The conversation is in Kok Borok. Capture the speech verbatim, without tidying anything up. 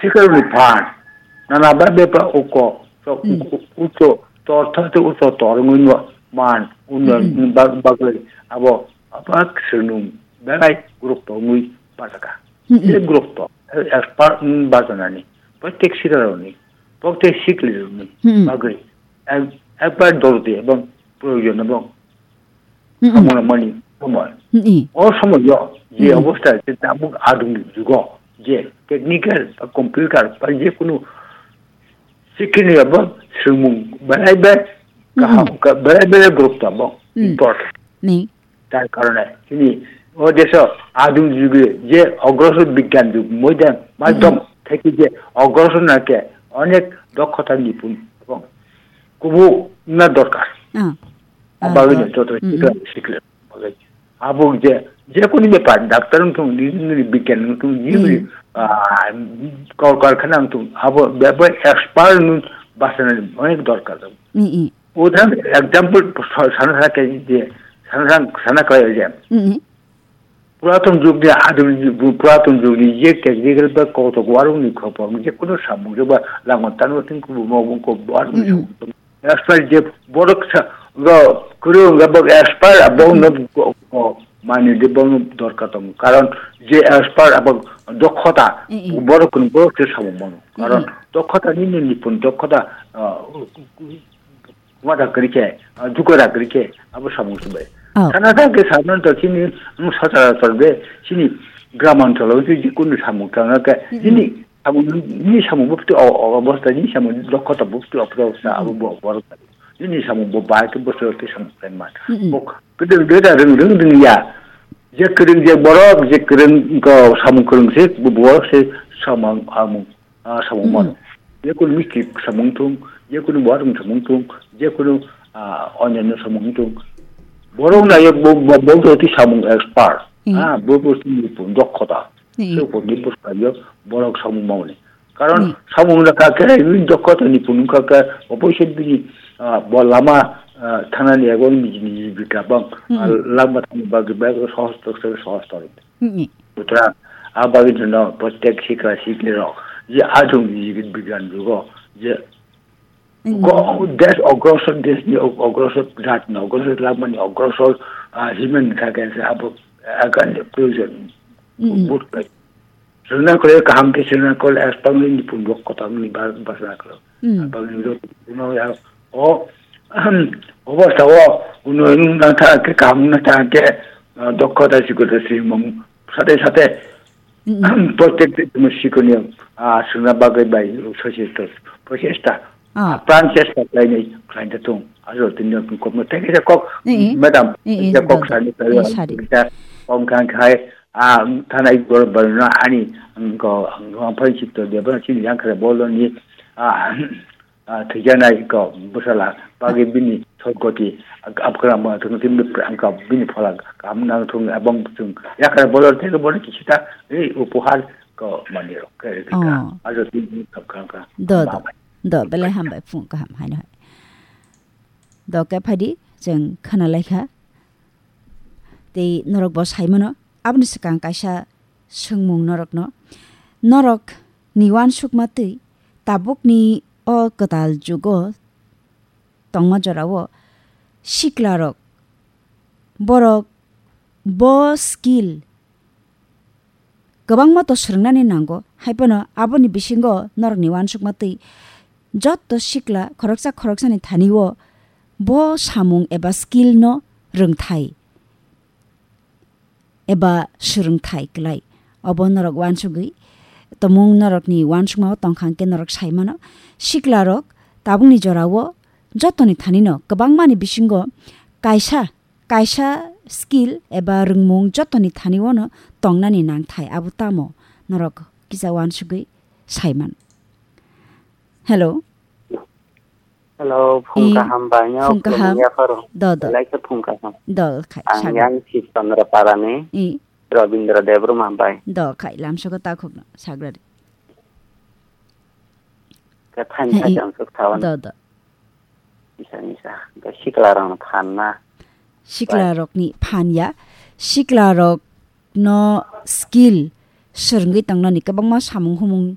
Sikarni phan, nana ba bepa uko, so Mm. uko, uko, tor thate uko tor ngui no man, uno Mm-mm. bag-, bagwi abo, apa ksenung, belai group to ngui bajaka. Mm-mm. Je group to, expert ngui bajanani, protek sikaroni, protek sikli roni, Mm-mm. bagwi, ek-, ekbar dordi ebong proyojon ebong Mm-mm. Samung mani somoi. Mm-mm. O somoi yo, je Mm-mm. obostha je tabuk adhungi jugo, je technical ba computer ba je kunu sikini abo swrwngmung belai be kaham, Mm-mm. ka-, belai belai group tamo Mm. import. Ni. Tar karone, chini o deso adhungi jugi je ogrosor bigyan jug moidan madhyam Mm-mm. theki je ogrosor na ke onek dokhota nipun ebong kubu na dorkar. Ah. Abagwi Ah, no joto mm, sikla, mm. sikla. Bagwi. Abo je, je kunu bepar, doctor wngthung, engineer, bigyan wngthung, jibri, Mm. ah, kol karkhana wngthung, abo bebak expert wng basanani onek dorkar. Mm, mm. Udharan example sa-, sana sana khe je, sana sana, sana khlai je. Mm, mm. Puratun jugni adhuni jug, puratun jugni je technical ba kotok warungni khopor, je kunu samung je ba langon tango tin kubu mobung ko warungni Mm, mm. samung. Expert je borok sa, go, kwrwng ga bok expert, abok no Mm. go, go, mani de bok no dorkar tong. Karon je expert abok dokhota, Mm, mm. borok kun borok se samung mano. Karon Mm, mm. dokhota ni ni nipun dokhota, ah, wada kwrwi khe, ah, jugo da kwrwi khe, abo samung se bai. Oh. Sana ta ke sanon to chini, um, sacharator be, chini gram ancholo je, je kunu samung tang ke, Mm, mm. chini samung, ni samung bupti o, o, obostha, ni samung dokhota bupti obostha, Mm, mm. abo bo, borok. Nini samung bo bahai khe bwswk khe samung khlai man. Mm-mm. Bo kwdwng de da rwng, rwng rwng ya. Je kwrwng je borok, je kwrwng ko samung kwrwng se, bo borok se samung, samung, ah, samung Mm-mm. mano. Je kunu misti samung thung, je kunu borok samung thung, je kunu, ah, onyanyo samung thung. Borok na ye bo, bo, bo, bo ti samung expert. Mm. Ah, bo, bo ti dokhota. Mm. Se bo ni bwskango borok samung mani. Karon Mm. samung rwkha khe, bini dokhota ni phunukha khe, oboise bini, ah, bo lama, ah, thanani ego niji niji bikha bang, Mm. ah, lama thani bagwi bag sohos tok se sohos tok. Mm. Sutrang, ah, bagwi jino protek sikla sikli rok, je ajung niji bigyan jugo, je Mm. go, des ogrosor, des ni og-, ogrosor, jat ni ogrosor, lama ni ogrosor, ah, himen kha khe se abo, ah, kan proyojon. Mm. But Srwngna khlai kaham khe srwngna khlai, aswk bangni nipun rok kotor ni ba-, bachana khlai. Hmm. Abangni rok no ya, o, obostha o, uno nung na tha khe kaham na tha khe, ah, dokhota sikota simung sate sate, Hmm. Protek te tumi sikoni, ah, srwngna bagwi bai sochesta, prochesta. Ah. Pran chesta khlainai khlaina thung. Ajo tini kok no teke kok, Hmm. Madam, Hmm, hmm, kok dol, sani dol. Kok Hmm, sari. Kok kang khai, ah, thanai gor barna ani, ko, ko, phai chito de, ba chini yang kare bolo ni, ah, ah, thijanai ko, bwsala, bagi bini sogoti, ab-, abkra ma thung tin, ang ka bini phola, kam nang thung, abang thung, ya kare bolo te bolo kichita, ei, upohar ko mani rok, kare ka, Oh. Ajo tin kap kang ka. Do, do. Bye bye. Do, belai hambai phung kaham haino hai. Do khe phaidi, chwng khana laikha. Tei norok bo saimano, aboni swkang kaisa swngmung norokno. Norok ni uansukma twi tabukni o kwtal jugo tongma jorao siklarok, borok bo skill kwbangma to swrwngnani nango, hai phano aboni bisingo norokni uansukma twi joto sikla khoroksa khoroksani thani-o bo samung eba skill no rwngthai eba swrwngthai klai. Obo norok uansugwi tomung norokni uansukmao tongkha hwnkhe norok sai mano, siklarok tabukni jorao jotoni thanino kwbangmani bisingo kaisa kaisa skill eba rwngmung jotoni thani-o no tongnani nangthai, abo tamo norok kisa uansugwi saiman. Hello. Hello, phung I, kaham bai, phung kaham. Yapharo. Do, do. Belai khe phung kaham. Do, khai, Ang sago. Yang Sib Chandra Parani, I. Rabindra Debbarma bai. Do, khai, lamsogo takhukno, sagrari. Khe thaini Hai, hai i. Ang sok thawan. Do, do. Misa, misa. Hwnkhe siklarokno phan na. Siklarokni phan ya. Siklarokno skill swrwngwi tongnani kwbangma samung humung